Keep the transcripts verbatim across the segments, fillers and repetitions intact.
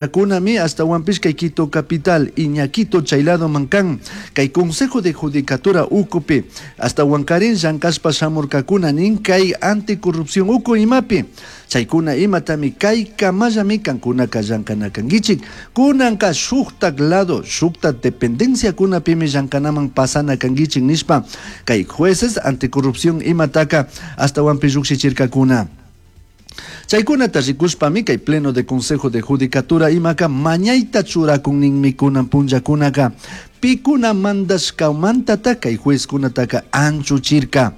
Kunami ashtawanpish kay Quito capital Iñaquito chay ladoman kan kay Consejo de Judicatura ukupi ashtawankarin llankashpa shamurkakuna nin kay anticorrupción uku imapi chaykuna imatami kay kamallami kankunaka llankana kankichik kunanka shuktak lado shuktak dependenciakunapimi llankanaman pasana kankichik nishpa kay jueces anticorrupción imataka ashtawanpish llukshichirkakuna. Chaykunata rikushpami kay pleno de Consejo de Judicatura imaka mañayta churakunninmi kunan punllakunaka pikuna mandashkamantata kay juezkunataka anchuchirka.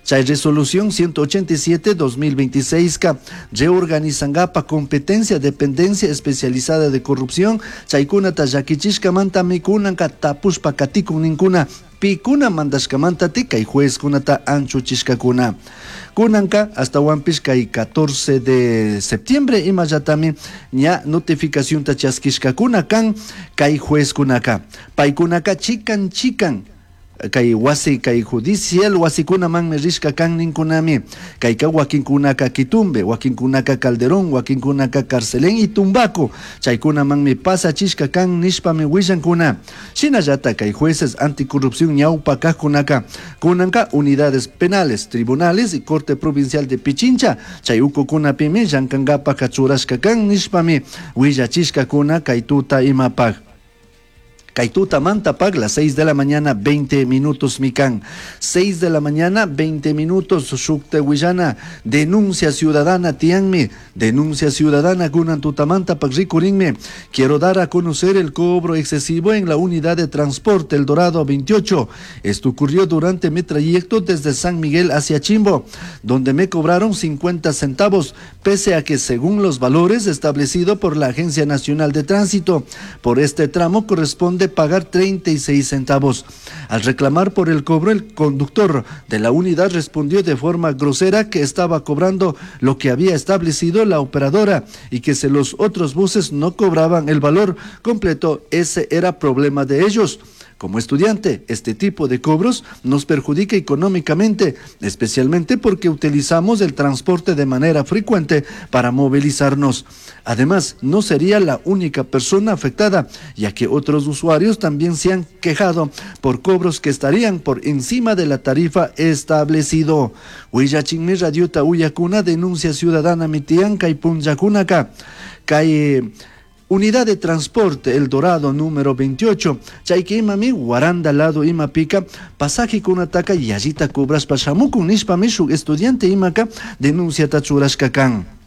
Chay resolución ciento ochenta y siete dos mil veintiséis ka reorganizangapa competencia dependencia especializada de corrupción chaykunata llakichishkamantami kunanka tapushpa katikun ninkuna pikuna mandashkamanta kay juezkunata anchuchishkakuna. Kunanka ashtawanpish kay catorce de septiembre imallatami ña notificacionta chaskishkakuna kan kay juezkunaka paykunaka chikan chikan kay wasi kay judicial wasikunamanmi rishka kan ninkunami kayka wakinkunaka Quitumbe, wakinkunaka Calderón, wakinkunaka Carcelén y Tumbaco chaykunamanmi pasachishka kan nishpami willankuna. Shinallata kay jueces anticorrupción ñawpa kajkunaka kunanka unidades penales, tribunales y Corte Provincial de Pichincha chay ukukunapimi llankankapaka churashka kan nishpami willachishkakuna kay tuta imapaj. Kay tutamanta pag las seis de la mañana veinte minutos mikan. seis de la mañana veinte minutos shukta willana denuncia ciudadana tianmi. Denuncia ciudadana kunan tutamanta pag rikurinmi. Quiero dar a conocer el cobro excesivo en la unidad de transporte El Dorado veintiocho. Esto ocurrió durante mi trayecto desde San Miguel hacia Chimbo, donde me cobraron cincuenta centavos, pese a que según los valores establecidos por la Agencia Nacional de Tránsito, por este tramo corresponde pagar treinta y seis centavos. Al reclamar por el cobro, el conductor de la unidad respondió de forma grosera que estaba cobrando lo que había establecido la operadora y que si los otros buses no cobraban el valor completo, ese era problema de ellos. Como estudiante, este tipo de cobros nos perjudica económicamente, especialmente porque utilizamos el transporte de manera frecuente para movilizarnos. Además, no sería la única persona afectada, ya que otros usuarios también se han quejado por cobros que estarían por encima de la tarifa establecido. Willachinmi radiota uyakuna denuncia ciudadana mi tiyan kay punllakunaka. Kay unidad de transporte El Dorado número veintiocho. Chayki imami Guaranda lado imapika pasaje kunataka yallita cobrashpa shamukun nishpami shuk estudiante imaka denunciata churashka kan.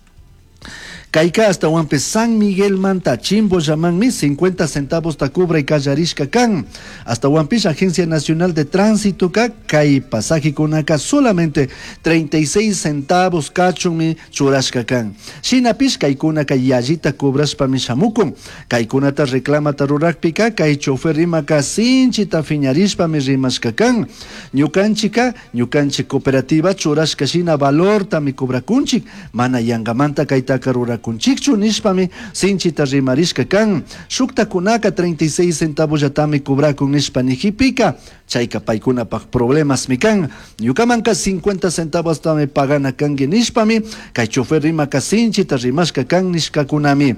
Kayka ashtawanpish San Miguel manta Chimbo llamanmi cincuenta centavos ta cobray kallarishka kan. Ashtawanpish Agencia Nacional de Tránsito ka kay pasaje kunaka solamente treinta y seis centavos kachunmi churashka kan. Shinapish kaykunaka yallita cobrashpami shamukun. Kaykunata reclamata rurakpika kay chofer rimaka sinchita fiñarishpami rimashka kan. Ñukanchika ñukanchik cooperativa churashka shina valortami cobrakunchik mana yangamanta kaytaka rurakunchikchu nishpami sinchita rimarishka kan. Shuktakunaka treinta y seis centavos llatami cobrakun nishpa nijipika chayka paykunapaj problemasmi kan. Ñukamanka cincuenta centavos tami pagana kanki nishpami kay chofer rimaka sinchita rimashka kan nishkakunami.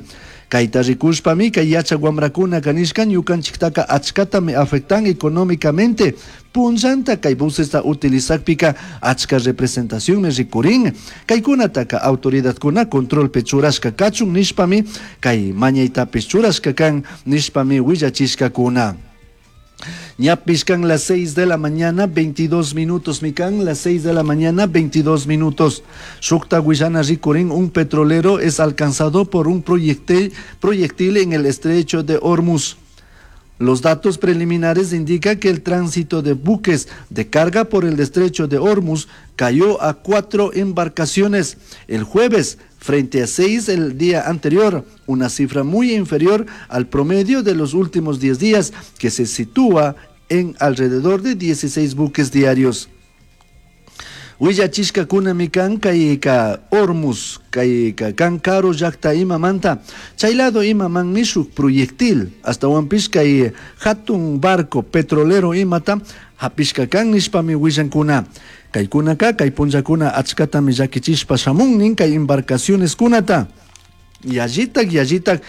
Kayta rikushpami kay yachak wamrakunaka nishka ñukanchiktaka achkatami afectan económicamente. Punllanta kay busesta utilizakpika achka representacionmi rikurin. Kaykunataka autoridadkuna controlpi churashka kachun nishpami kay mañaytapish churashka kan nishpami willachishkakuna. Ñapish kan las seis de la mañana, veintidós minutos, mikan, las seis de la mañana, veintidós minutos. Shukta willana rikurin, un petrolero es alcanzado por un proyectil, proyectil en el estrecho de Hormuz. Los datos preliminares indican que el tránsito de buques de carga por el estrecho de Hormuz cayó a cuatro embarcaciones el jueves frente a seis el día anterior, una cifra muy inferior al promedio de los últimos diez días, que se sitúa en alrededor de dieciséis buques diarios. Willachishkakunami kan kayka Hormuz kayka kan karu llakta imamanta chay lado imamanmi shuk proyectil ashtawanpish kay hatun barco petrolero imata hapishka kan nishpami willankuna. Kaykunaka kay punllakuna achkatami llakichishpa shamun nin kay embarcaciones kunata. Yallitak yallitak.